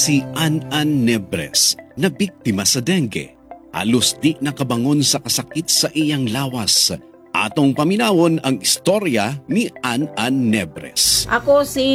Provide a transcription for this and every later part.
Si An-An Nebres na biktima sa dengue. Halos di nakabangon sa kasakit sa iyang lawas. Atong paminawon ang istorya ni An-An Nebres. Ako si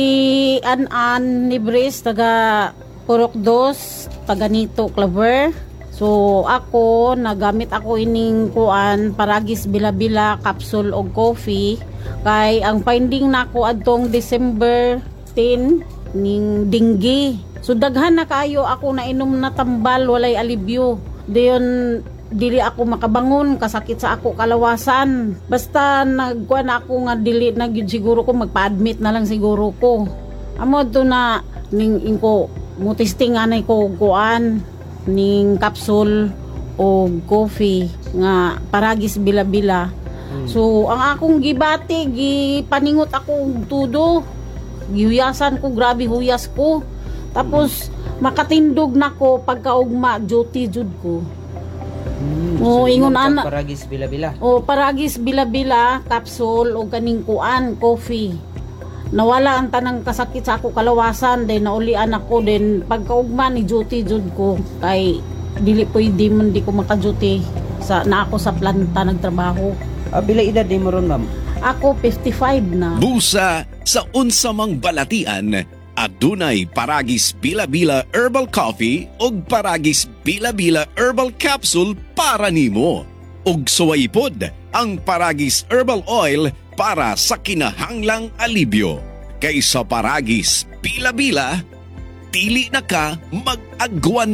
An-An Nibris, taga Purok Dos, taga Nito, Claver. So ako, nagamit ako ining kuan, Paragis Bila-Bila, capsule og coffee. Kay ang finding nako adtong December 10 ning dinggi. So daghan na kayo ako nainom na tambal, walay alibyo. Dayon dili ako makabangon, kasakit sa ako kalawasan. Basta nagkuan ako nga dili na gyud siguro ko, magpa-admit na lang siguro ko. Amo to na ning ingko mo testing anay ko og kuan ning capsule o coffee nga Paragis Bila-Bila. So ang akong gibati, gipaningot ako og tudo. Gihuyasan ko, grabe huyas ko. Tapos makatindog nako pagkaugma, duty jud ko. Oo, So, ingon inom kag ana. Paragis Bila-Bila. O Paragis Bila-Bila capsule o kaning kuan coffee. Nawala ang tanang kasakit sa ako kalawasan, then naulian ako, then pagkaugma ni duty jud ko kay dili pwede man di ko maka-duty sa na ako sa planta nagtrabaho. Ah, pila edad nimo ron, ma'am? Ako 55 na. Busa sa unsamang balatian, adunay Paragis Bila-Bila Herbal Coffee ug Paragis Bila-Bila Herbal Capsule para nimo. Ug suway pod ang Paragis Herbal Oil para sa kinahanglang alibyo. Kaysa Paragis Bila-Bila, dili na ka mag-agwanta.